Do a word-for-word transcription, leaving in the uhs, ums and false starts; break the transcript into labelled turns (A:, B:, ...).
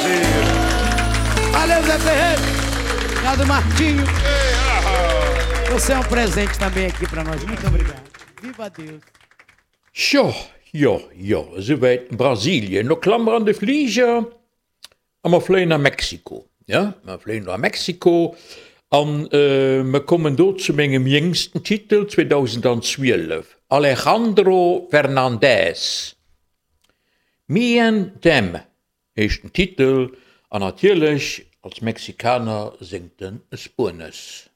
A: Brasil.
B: Valeu, Zé Ferreira. Obrigado, Martinho. Você é um presente também aqui para nós. Muito obrigado. Viva Deus.
C: Jo, jo, jo, esouwäit Brasilien. Lo klamme mer an de Fliger a mer fléien a Mexiko. Ja, mer fléien a Mexiko an mer kommen do zu mengem jéngsten Titel, zweedausendzwielef, Alejandro Fernandez, Me and Them heescht den Titel an natierlech als Mexikaner séngt en Spuenesch.